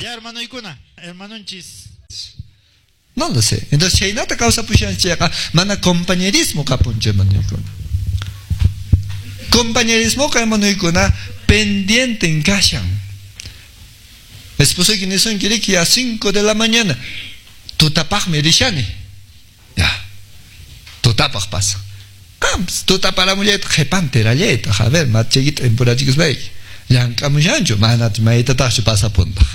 Ya hermanoykuna, hermanonchis. No lo sé. Entonces, chaynata kawsapushanchikqa mana compañerismo kapunchu, hermanoykuna. Compañerismo hermanoykuna pendiente en kashan. Esposoyki nisunki riki a 5 de la mañana. Tutapaqmi rishani. Ya. Tutapaq pasa. Qampas tutaparamullayta qhipantirallayta. A ver, machaykita empurachikuspayki. Llank'amushanchu, manach maytataqchu pasapuntaq.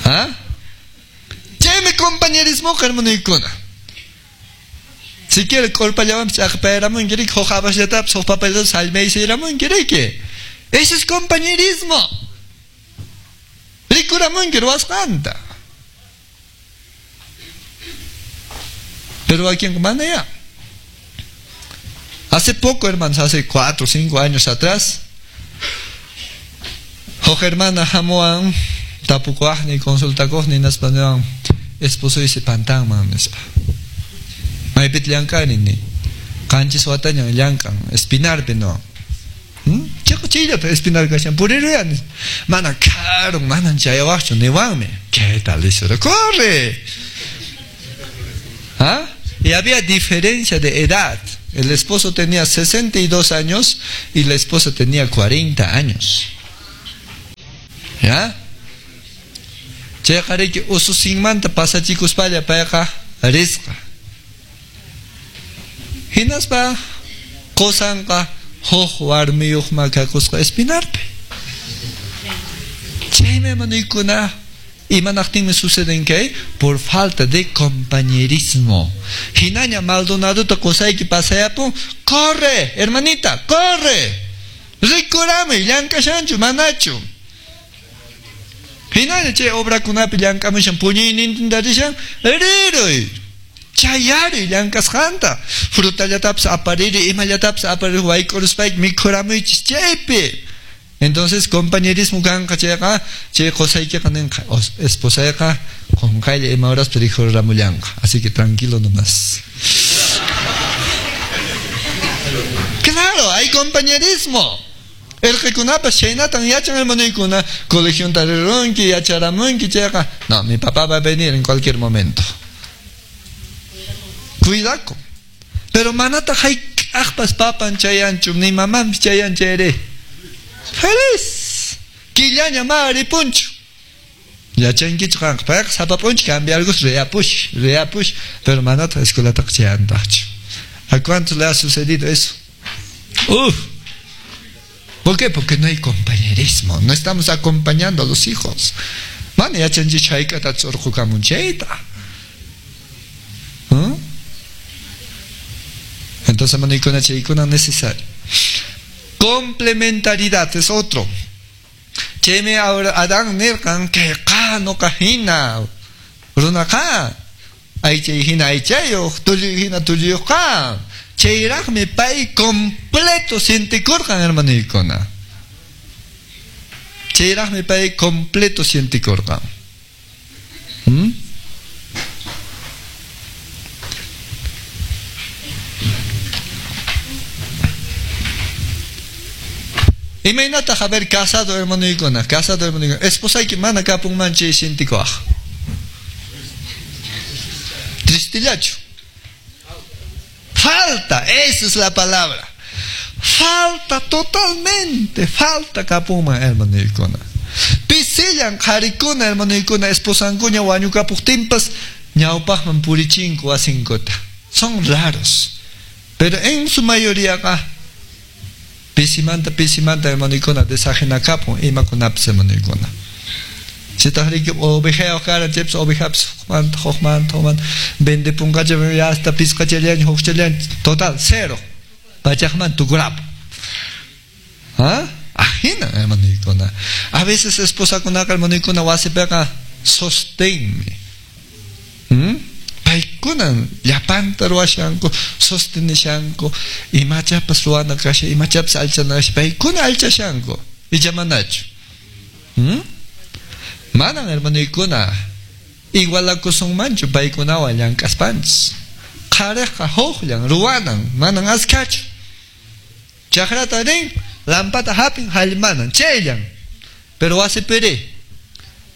¿Ah? Chaymi compañerismo hermanoykuna. Si quiere k'urpallawanpis ch'aqpayaramunki riki, huk habashllatapis, huk papallatapis sallmaysiramunki riki. Eso es compañerismo. Rikuramunki ruwasqanta. Pero aquí en mana ya. Hace poco, hermanos, hace 4 o 5 años atrás, huk hermana hamuwan tapukuqni, consultakuqni, nispa niwan, esposoysi pantanman, nispa. Maypita llank'ani, ni. Qanchis watañan llank'an, Espinarpi, no. Chiqa chayllata Espinar kashan, puriruyani. Mana karun, manan chayawaqchu, niwanmi. ¿Qué tal eso? ¡Corre! ¿Ah? Y había diferencia de edad. El esposo tenía 62 años y la esposa tenía 40 años. ¿Ya? Chayqa riki ususinmanta pasachikuspalla payqa risqa. Hinaspa qusanqa huk warmiyuqma kakusqa Espinarpi. Chaymi hermanoykuna, imanaqtinmi suceden kay? Por falta de compañerismo. Hinaña Maldonadota qusayki pasayapun, corre, hermanita, corre. Rikurami, llank'ashanchu, manachu. Hinaña chay obrakunapi llank'amushan, puñuynintinta rishan, riruy. Chayari llank'asqanta. Frutallatapis apariri, imallatapis apariri, wayk'uruspayki mikhuramuychis chaypi. Entonces, compañerismo kanqa chayqa, chay qusaykiqa ninqa, esposayqa qunqaylla ima horaspi rikhuriramullanqa. Así que tranquilo nomás. Claro, hay compañerismo. Erqikunapas chaynatan yachan hermanoykuna, colegionta rirunki, yacharamunki chayqa. No, mi papá va a venir en cualquier momento. Cuidado. Pero manata hayk'aqpas papan chayanchu, ni mamanpis chayan chayri. Feliz. Killaña ma ripunchu. Yachankichu qanqa, payqa sapa p'unchaw cambiargus riapush, riapush, pero manata escuelataqa chayantaqchu. ¿A cuántos le ha sucedido eso? Uf. ¿Por qué? Porque no hay compañerismo. No estamos acompañando a los hijos. Mana yachanchik hayk'ata ch'urqukamun chayta. Entonces, hermanoykuna, chaykuna necesario. Complementariedad es otro. Chaymi ahora Adán nirqan kay qa nuqa hina runaqa aychay hina aychayuq, tulluy hina tulluyuqqa. Chayraqmi pay completo sientikurqan, hermanoykuna. Chayraqmi pay completo sientikurqan. Imaynataq, a ver, casado hermanoykuna, casado hermanoykuna, esposayki mana kapunman chay sientikuaq. Tristillachu. Falta, esa es la palabra. Falta totalmente, falta kapunman hermanoykuna. Pisillan qharikuna hermanoykuna, esposankuña wañukapuqtinpas ñawpaqman purichinku wasinkuta. Son raros. Pero en su mayoría pisimanta, pisimanta hermanoykuna desajenakapun imakunapis hermanoykuna. Chitaq riki ovejayuq karan chaypis ovejapis hukmanta, hukmanta, hukmanta vendepunqacha hasta pisqachallaña, hukchallaña, total cero. Pachaqman tukurapun. ¿Ah? Ajina hermanoykuna. A veces esposakunaqa hermanoykuna wasipiqa sostenmi. Paykunan llapanta ruwashanku, sostenishanku, imachapas ruwana kashan, imachapas allchana kashan, paykuna allchashanku, icha manachu. Manan hermanoykuna igualakusunmanchu paykunawan llank'aspanchis. Qhariqqa huqllan ruwanan, manan askhachu. Chakrata rin, Lampata hapin hallmanan, chayllan. Pero wasipiri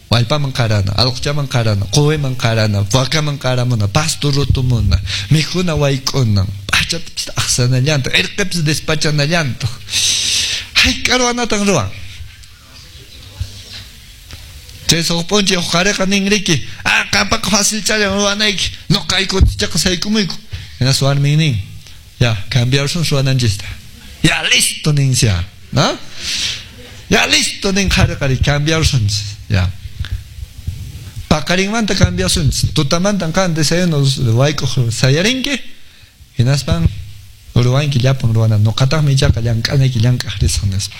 wallpaman qarana, allquchaman qarana, quwiman qarana, wakaman qaramuna, pasto rutumuna, mikhuna wayk'unan, p'achatapis aqsanallantaq, irqipis despachanallantaq. Hayk'a ruwanatan ruwan? Chay huk p'unchay huk qhariqa nin riki, ah, qampaqa facilchallan ruwanayki, nuqayku chaqa saykumuyku. Hinaspa warmin nin, ya, cambiarsun ruwananchista. Ya, listo ninsia, ¿no? Ya, listo nin qhariqa cambiarsunchis, ya. Paqarinmanta cambiasunchis. Tutamantan qan desayuno wayk'uq sayarinki, hinaspan ruwanki llapan ruwana. Nuqataqmi ichaqa llank'anayki llank'aq risaq nispa.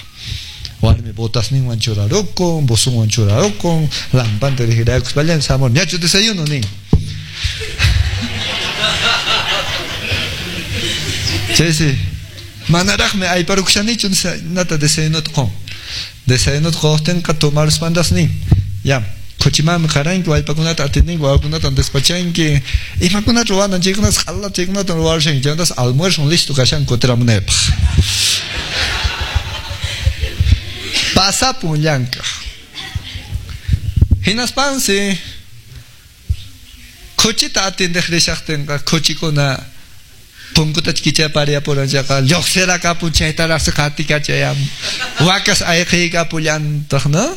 Warmi botasninwan churarukun, buzunwan churarukun, lampanta rijiraykuspallan samur, ñachu desayuno nin. Chaysi, manaraqmi ayparukushanichu nata desayunota qun. Desayunota quqtinqa tomaruspantas nin, ya, khuchimanmi qaranki, wallpakunata atendinki, wawakunata despachanki, imakunata ruwanan chaykunatas q'ala chaykunata ruwarushanki, chaymantas almuerzo listo kashan kutiramunaypaq. Pasapun llank'aq. Hinaspansi khuchita atendeq rishaqtinqa khuchikuna punkuta kichapariyapuran chayqa lluqsirakapun chaytaraqsi qatikachayam wakas ayqiykapullantaq, ¿no?